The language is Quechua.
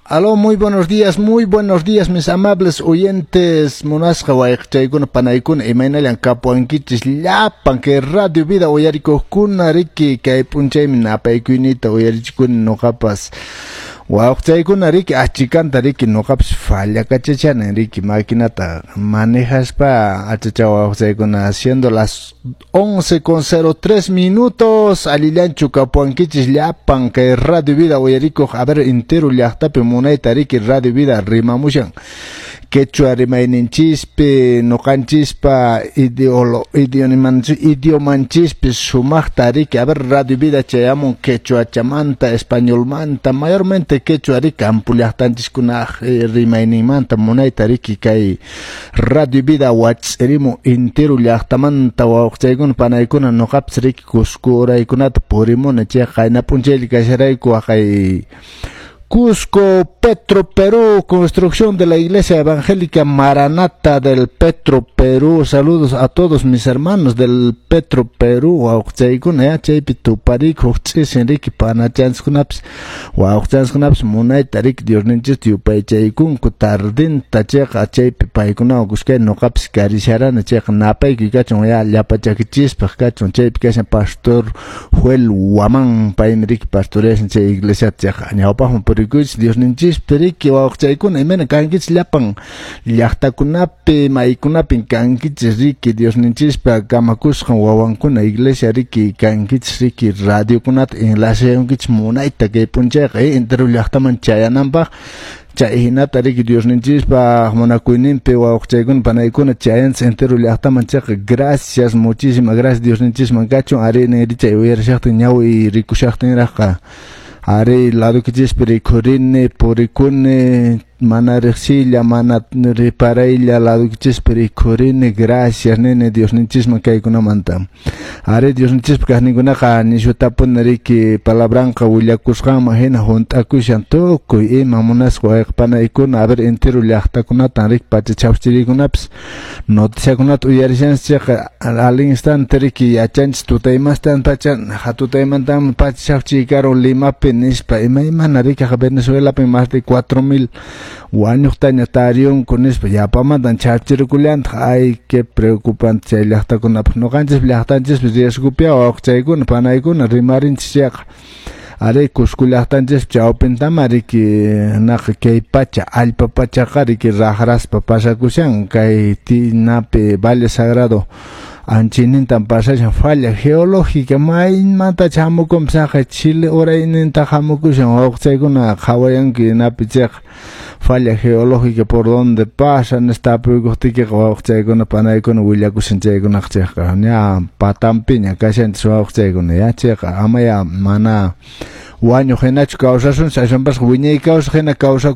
Aló, muy buenos días, mis amables oyentes. Munasqa wayqichaykuna, panaykuna, imaynallan kapuwankichis llapan kay Radio Vida uyarikuqkuna, riki kay p'unchaymi napaykuyniyta uyarichikuni nuqapas. Wawqichaykuna, riki achikanta, riki nuqapas fallakachachani, riki maquinata manejaspa achacha wawqichaykuna, siendo las 11:03 minutos, allillanchu kapuwankichis llapan kay Radio Vida uyarikuq? A ver, entero llaqtapi munayta, riki, Radio Vida rimamushan quechua rimayninchispi, nuqanchispa idiomanchispi sumaqta, riki. A ver, Radio Vida chayamun quechuachamanta, españolmanta, mayormente quechua, riki, campo llaqtanchiskunaq rimayninmanta munayta, riki, kay Radio Vida wach'irimun entero llaqtamanta. Wawqichaykuna, panaykuna, nuqapas, riki, Cusco uraykunata purimuni chayqa qayna p'unchaylla kasharayku waqay Cusco, Petro Perú, construcción de la Iglesia Evangélica Maranata del Petro Perú. Saludos a todos mis hermanos del Petro Perú. Wawqichaykuna, ya chaypi tupariyku huk ch'isin, riki, panachanchiskunapis wawqichanchiskunapis munayta, riki, Diosninchista yupaychaykunku tardinta chayqa chaypi paykunawan kuskay nuqapis karisharani chayqa napaykuy kachun ya llapa chakichispaq kachun. Chaypi kashan pastor Joel Guamán, paymi, riki, pastoreashan chay iglesiata chayqa ñawpaqman purikuychis Diosninchispi, riki. Wawqichaykuna, imayna kankichis llapan llaqtakunapi, maykunapin kankichis, riki, Diosninchispa kamakusqan wawankuna, iglesia, riki, kankichis, riki, radiokunata enlaceankichis munayta kay p'unchayqa entero llaqtaman chayananpaq. Chay hinata, riki, Diosninchispa munakuyninpi, wawqichaykuna, panaykuna, chayanchis entero llaqtaman chayqa gracias, muchísimas gracias Diosninchisman kachun. Ari niri chay uyarishaqtin ñawi rikushaqtinraqqa ari ladukichispi rikhurini, purikuni mana riqsiylla, mana riparaylla ladukichispi rikhurini. Gracias nini Diosninchisman kaykunamanta. Ari Diosninchispa kaqninkunaqa nishutapuni, riki, palabranqa willakusqanman hina hunt'akushan tukuy ima, munasqa wayqa panaykuna. A ver, entero llaqtakunatan, riki, pacha chawchiriykunapis noticiakunata uyarishanchis chayqa al instante, riki, yachanchis tutaymastan pacha hatutaymantan pacha chawchiy karun Limapi nispa, imaymana, riki, Venezuelapi más de 4000 wañuqtaña tariyunku nispa, yapamantan chawchirikullantaq. Ay, qué preocupante chay llaqtakunapaq. Ñuqanchis llaqtanchispi riesgopia, wawqichaykuna, panaykuna, rimarinchis chayqa ari Cusco llaqtanchispi chawpintama, riki, naqa kay pacha allpa pachaqa, riki, raqraspa pasakushan kay tinapi Valle Sagrado anchaynintan pasashan falla geológica maymantacha hamukunpas haqay Chile urayninta hamukushan. Wawqichaykuna, qhawayanki napi chayqa falla geológica por donde pasa nispa tapuykuqtiykiqa wawqichaykuna, panaykuna, willakushan chaykunaqa chayqa ña patanpiña kashanchis, wawqichaykuna, ya chayqa amaya mana wañuq hinachu kawsasunchis, aswanpas wiñay kawsaq hina kawsakusun.